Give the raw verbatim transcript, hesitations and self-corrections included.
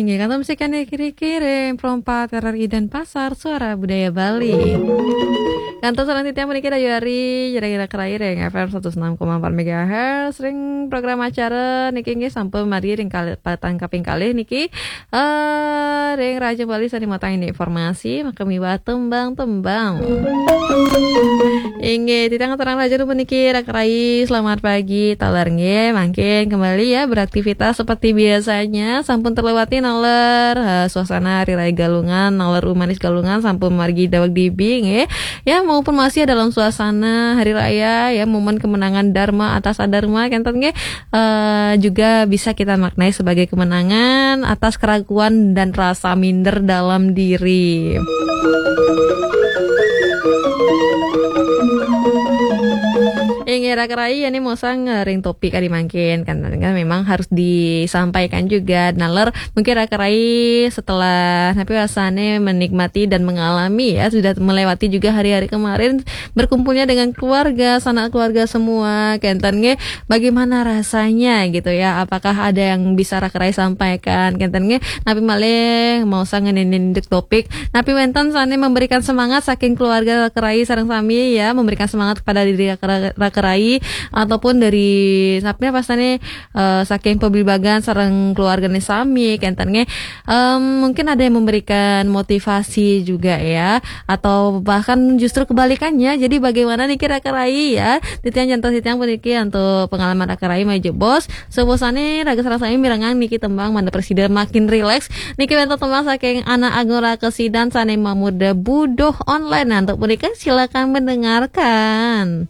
Ya, kantun musik kene kiri-kiri, Perompak, R R I Denpasar, Suara Budaya Bali. Kantun selanjutnya puniki dayuh ari, jere Raka Rai ring F M seratus enam koma empat megahertz, ring program acara niki nggih sampun margi ring kali, patang kaping kalih niki. Eh, ring Raja Bali sane matang ini informasi, maka miwah tembang-tembang. Inggih, titiang aturang rahayu puniki Raka Rai, selamat pagi, taler nggih, mangkin kembali ya beraktivitas seperti biasanya, sampun terlewati naler, eh, suasana Hari Raya Galungan, naler umanis Galungan, sampun margi daweg dibi nggih. Ya, maupun masih dalam suasana Hari Raya, ya, momen kemenangan Dharma atas adharma, kenten nggih, eh, juga bisa kita maknai sebagai kemenangan atas keraguan dan rasa minder dalam diri. Inggih, Raka Rai, ya, ini mosang, eh, ring topik kadi mangkin, kan, kan memang harus disampaikan juga. Naler, mungkin Raka Rai setelah, tapi rasanya menikmati dan mengalami, ya, sudah melewati juga hari-hari kemarin, berkumpulnya dengan keluarga, sanak keluarga semua, kenten nggih, bagaimana rasanya gitu ya? Apakah ada yang bisa Raka Rai sampaikan, kenten nggih? Napi malih maosang ngenenin topik? Napi wenten sane memberikan semangat saking keluarga Raka Rai sareng sami ya, memberikan semangat kepada diri Raka, Raka Rai ataupun dari napi apa sane, eh, saking pabligbagan sareng keluargane sami, kenten nggih? Em, mungkin ada yang memberikan motivasi juga ya, atau bahkan justru kebalikannya. Jadi bagaimana niki Raka Rai ya? Titiang jantos titiang puniki antuk pengalaman Raka Rai malih jebos. Sapunapi raga sareng sami mirengang niki tembang mangda prasida makin rileks. Niki wenten tembang saking Anak Agung Raka Sidan sane mamurda Buduh Online. Nah, antuk punika silakan mendengarkan.